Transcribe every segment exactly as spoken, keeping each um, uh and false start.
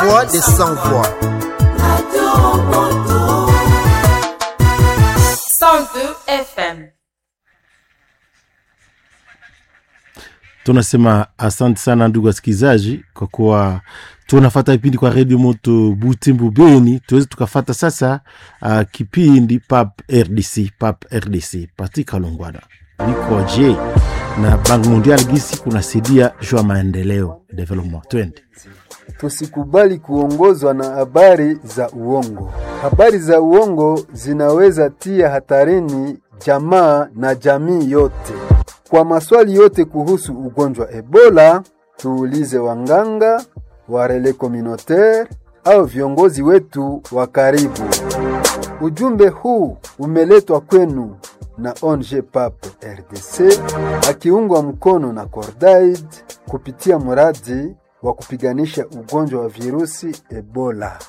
Voix des sans voix. cent deux F M. Tunasema asante sana ndugu wasikilizaji, kwa kuwa tunafata kipindi kwa redio Moto Butembo Beni. Tuweze tukafata sasa uh, kipindi P A P R D C, P A P R D C Patrick Kalongwana niko je na Bank Mondial gisi kunasaidia juu ya maendeleo development. Twende. Tusikubali kuongozwa na habari za uongo. Habari za uongo zinaweza tia hatarini jamaa na jamii yote. Kwa maswali yote kuhusu ugonjwa Ebola, tuulize wanganga, wa relais communautaire au viongozi wetu wa karibu. Ujumbe huu umeletwa kwenu na O N G P A P R D C akiungwa mkono na Cordaid kupitia mradi wa kupiganisha ugonjwa wa virusi Ebola.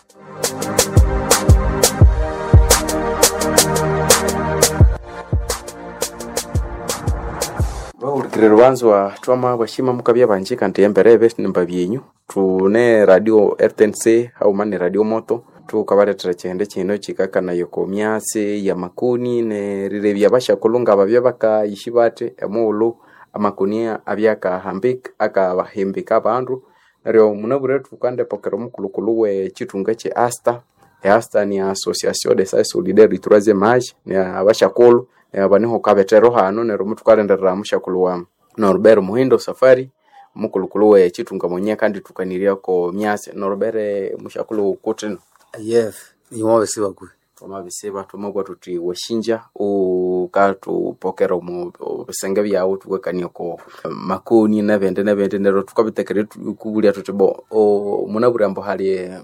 Vahurikire rubanzwa twama bashima mukabya banje kandi embere nimba byenyu tune radio R T N C hauma ni radio moto tukabaletera chihende chino chikakanayo ko myasi ya makuni nerirebya bashakulunga babya bakayishi bate emughulhu amakuni abyakahambika akahimbika abandu. Neryo munabwire tukandepokera omukulukulu we chitunga che Asta. E Asta ni Association des Sages Solidaires du Troisième Âge, ni abashakulu abaniho kabetero hano. Neryo mutukalenderera mushakulu wa Norbert Muhindo Safari, mukulukulu we chitunga mwenye kandi tukaniryako myasi. Norbert mushakulu kutino? Yes, iwabesiba kwe. Twamabisiba tumabwa tuti washinja ukatupokera omu bisenge byawu tukakania ko makoni nebindi nebindi. Neryo tukabitekere kubulya tuti bo munabwire ambu hali e,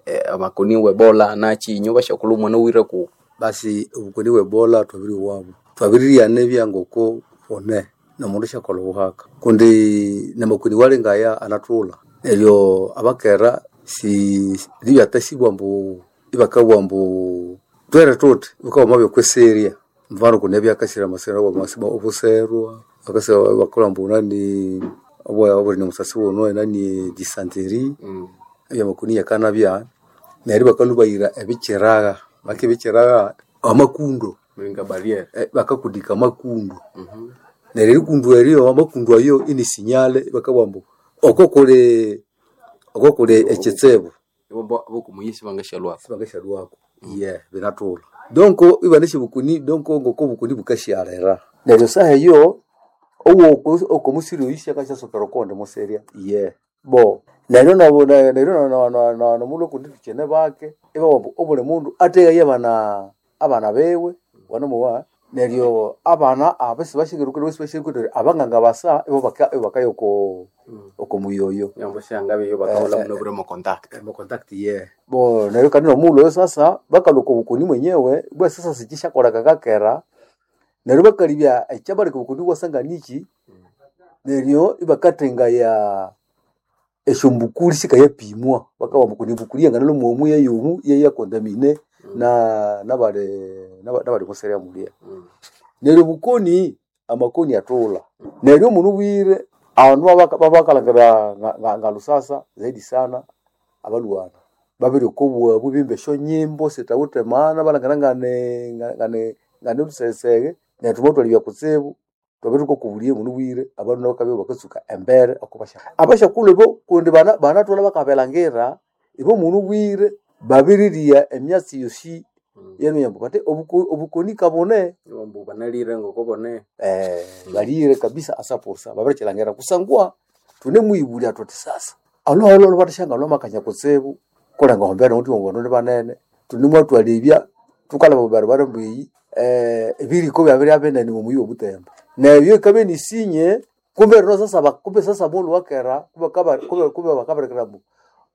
e, amakoni webola nachinyo bashakulu mwana wire ku basi obukoni webola twabiri wabo twabiriryana ebyangoko one nomundu syakolha obuhaka kundi namakoni walingaya anathulha neryo abakera si libyatasibwa mbu ibakabugha mbu twere tuthi bukabya byokweserya mfano kuna ebyakasira amasira obwamasiba obuserwa bakasira bakolha mbu nani obwa obuli musasi wuno nani dysentery mm. ebyamakoni yakanabya neryo bakalhubayira ebikyiraga baka ebikyiraga amakundo mulinga barriere eh, bakakudika amakundu mm -hmm. Neryo erikundu eryo amakundu ayo ini sinyale bakabugha mbu oko kuli oko kuli ekyitsibu bokumuyisi bangashalwako bangashalwako mm. Yeah, binathulha donc ibanesha bukuni donc ngoko bukuni bukashyalera neryo saha eyo owo okomusiri oyu syakashyasokera okondi muserya yeah bo neryo nabo neryo nomundu okundi thukine bake ibabugha obuli mundu ateghaye abana abana biwe wanamuwa neryo abana abo sibashingirwe sibashingirwe abanganga basa ibo baka bakaya oko oko muyoyo nyambo syangabe bakaola muno bure mu contact mu contact ye bo neryo kandi nomulo oyo sasa bakaluka obukoni mwenyewe bwa sasa sikishakola kakakera neryo bakalibya ekyabaleka obukoni bwasanga niki neryo ibakatenga ya esyombukuli sikayapimwa bakawa mbukuni mbukuli yanganalo mwomu yeyomu yeyakontamine na nabali nabali muserya mulya mm. Neryo bukoni amakoni atula neryo munu bwire abandu babakalhangira nga lusasa zaidi sana abalwana babiri okobwabu bimba esyonyimbo sithawithe maana balhangira ngane ngane ngane lusesege neryo thwamathwalibya kutsibu twabiri thukakubuliye munu bwire abandu nabo bakabya bakatsuka embere okobasya abasyakulhu ibo kundi banathulha bakabelhangira ibo munu bwire babirirya emyatsi yosi yenu yambu bati obukoni kabone mbu banalire ngoko bone eh balire kabisa asaposa babirikilangira kusangwa tune muibulya tuti sasa alo alo alo batashanga lwa makanya kutsibu kulenga hombera undi ngono ne banene tune mwatwalibya tukala barabara mbiyi eh ebiriko byabiri abenene mu muyi obutembo nebyo ikabe nisinye kumbe rino sasa kumbe sasa mulu wakera kumbe kaba kumbe kumbe bakaberekera mbu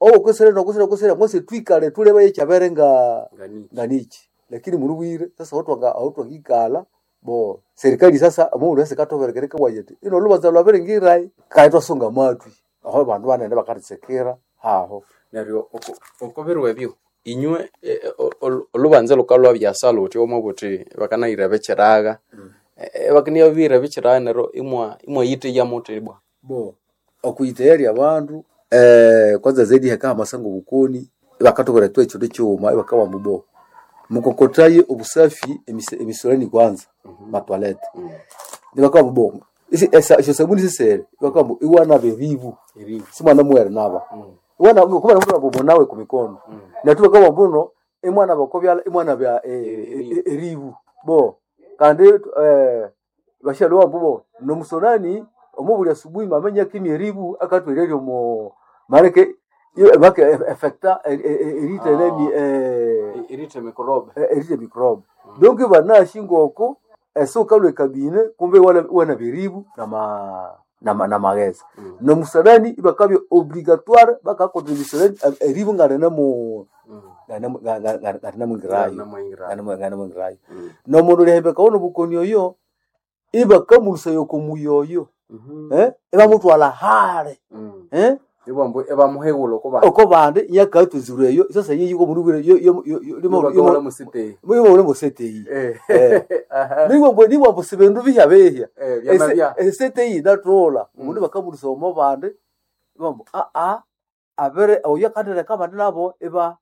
owo kusere no kusere kusere mose twikale tuleba yechabere nga nganichi lakini munu bwire sasa watu wanga watu wangikala bo serikali sasa mundu wese katoberekereka wayete ino lubanza lwabere ngirai kaitwa songa matwi aho bandu banene bakaritsekera haho neryo okobirwe ebyo inywe olubanza lukalwa byasala uthi omwe buthi bakanayira bekyiraga mm. bakaniya bira bekyiraga neryo imwa imwa yiteya muthi bwa bo okuyiteyerya abandu Eh, kwanza zaidi hakaha masango bukoni bakatokora tu ekindu kighuma ibakawa mubo mukokotaye obusafi emise- emisolani kwanza matwalete nibakawa mubo isi esa esyo sabuni sisere ibakawa mbu iwana beribu simwana muwere naba iwana kuba mtu abo nawe ku mikono na tu bakawa mbuno imwana bakobyala imwana bya eribu bo kandi eh bashalwa mbubo nomusonani omubuli asubuhi mamenya kimi eribu akatwereryo mo mareke iyo make efecta erite neni eh Irite mikorobe. erite microbe donc banashi ngoko esoka lwe kabine kumbe wala wana biribu na ma na, ma- na magheza Mm. nomusalani ibakabya obligatoire bakakontribution eribu ngalene mu ngalene mwingirayo ngalene mwingirayo nomundu lihembeka wono bukoni oyo ibakamulusa komuyoyo eh ibamutwala hale eh Ibambu ebamuhewulo kuba oko bandi yakatuzirwe eyo sasa yeyiko mundu bwire yo yo yo limo limo musite. limo limo seteyi Eh. Eh. Aha. nibo mbwe nibo mbu sibendu bihya behya Eh, byama bya. eseteyi natola omundu bakamulusa omo bandi ibambu a a abere oyo akandireka abandi nabo iba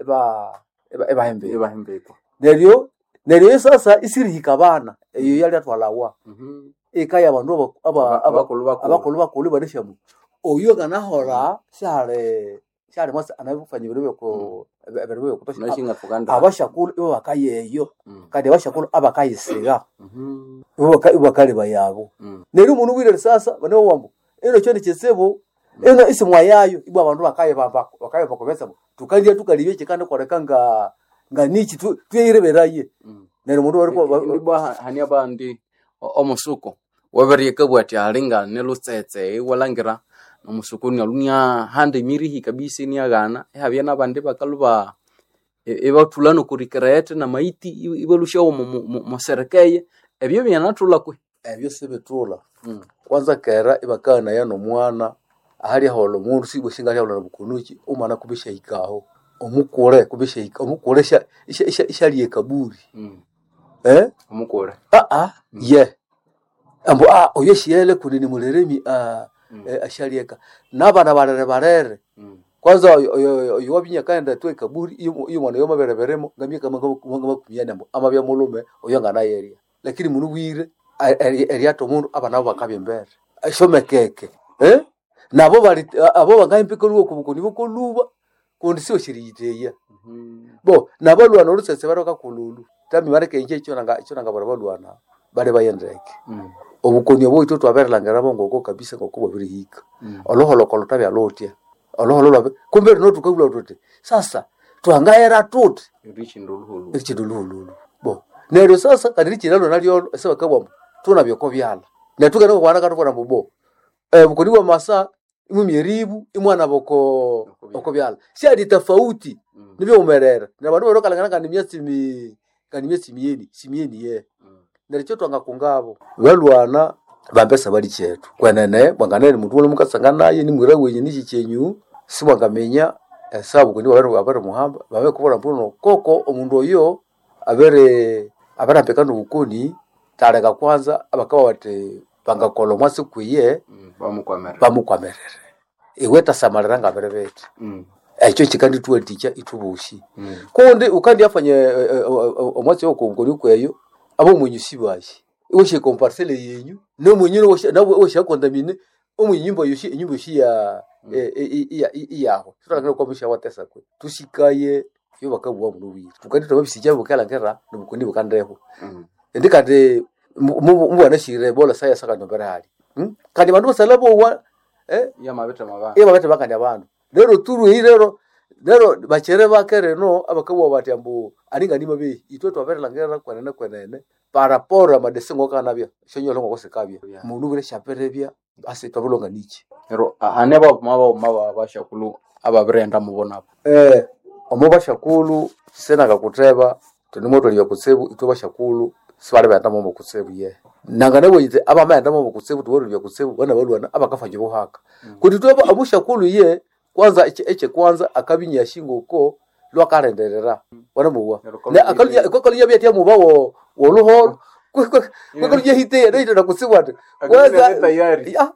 iba iba ibahembeka Ebahembeko. neryo neryo sasa isirihika abana eyo yali atwalawa Mhm. eka yabandu aba- aba- aba- Abakulu bakulu. abakulu bakulu baneshamu oyo kanahola syali syali mwasi anabifanya ebindu byoko ebindu byokutosha Nashinga fukanda. abashakulu ibo bakayeyo Mm. kandi abashakulu abakayisiga Mhm. ibo baka- ibo bakaleba yabo Mm. neryo omundu bwire sasa bane wambu ino kyo nikitsibu ino isimwa yayo ibwa abandu bakayibamba bakayibamba kubesa tukandya tukalibya kikandi koleka nga nga niki tu- tuyireberaye Mm. neryo omundu wariko Ndibwa hani abandi o- omusuko waberye bwati alinga nelutsetse iwalangira omusuko nialunia handa emirihi kabisa iniaghana ihabya nabandi bakaluba i- ibathula nokurikirete namaiti i- ibalushawo muserekeye ebyo byanathula kwe ebyo sibitula Mm. kwanza kera ibakana nomwana ahali ahola omundu sibwe singali ahola bukunuki omwana kubishahikaho omukule kubishahika omukule isha- isha- isha- ishalya ekaburi Mm. eh omukule ah ah ye ambu ah oyo shiele kunini muleremi ah Mm. eh, ashalyeka nabana barere barere Mm. kwanza oyo- oyo oyo wabinya kaenda tu ekaburi iyo iyo mwana yo mabereberemo ngamyaka makumi ambu amabya mulume oyo nganayeria lakini munu bwire eriato omundu abana bo bakabya embere ashomekeke eh nabo bali abo bangahimpika luwo kubukoni bukoluba kundi siwo shiriyiteya Mhm. bo nabalwana olusese baroka kululu tami bareke inje ekyo nanga ekyo nanga bara balwana bale bayendeke Mm. obukoni obwo itwe twaberelangira bongoko kabisa ngoko bwabirihika Mm. oloholokolo tabyalotya oloholo lwabe kumbe rino tukabula tuti sasa twangayera tuti Erichindu oluhulu. ekindu luhululu bo neryo sasa kandi lichilalo nalyo sebakabwamo tunabyoko byala netukana kwana katubona mbu bo eh, bukoni bwa masa imwe myeribu imwana boko Oko oko byala syali tofauti Mm. nibyo umerera na bandu barokalangana kandi myatsi mi kandi myatsi miyeni simiyeni ye Mm. neryo kyo twanga kungabo balwana bambesa bali chetu kwenene bwanganene muntu ule mukasanga naye nimwira wenye nichi chenyu simwangamenya esabu kundi babere abere muhamba babe kubora mbuno koko omundu oyo abere abarambeka nobukoni taleka kwanza abakaba bati bangakola omwasi kwiye Mm. Bamukwamerera. bamukwamerere iwe tasamalira ngabere bete Mm. ekyo kikandituwatikya itubushi Mm. kundi ukandi afanye omwatsi wokongoni kweyo abo mwenyu sibashi iwoshe komparsele yenyu nomwenyine woshakontamine omwenye nyumba yoshi enyumba yoshi ya iyaho tutangire kwamisha watesa kwe tusikaye yo bakabuwa muno bwire tukandi twababisija bukalangera nobukoni bukandeho Mm. indi kandi mubwana shire bola saya saka nombere hali Hmm? kandi bandu basala bowa eh Yamabete mabana. iyo babete bakandi abandu lero turu iyi lero lero bachere bakere no abakabwa bati ambu aninga nima bi itwe twaberelangera kwenene kwenene paraporo amadese ngokanabya shonyolo ngokosekabya Yeah. mundu bure shaperebya ase twabulonga niki Ero hane babuma babuma babashakulu ababirenda mubonabo. eh omo bashakulu senaka kuteba tunimotoliya kutsebu itwe bashakulu sibali baenda momo kutsebu ye nanga nabonyite abamaenda momo kutsebu tubololya kutsebu bana balwana abakafa buhaka kuti tweba omushakulu ye kwanza eche, eche kwanza akabinya shingoko lwakarenderera wanamuwa Neryo ne akalunya kwakalunya byatya muba wo woluholo kwakalunya hite ya neita nakutsibwa ati Akalunya tayari. ya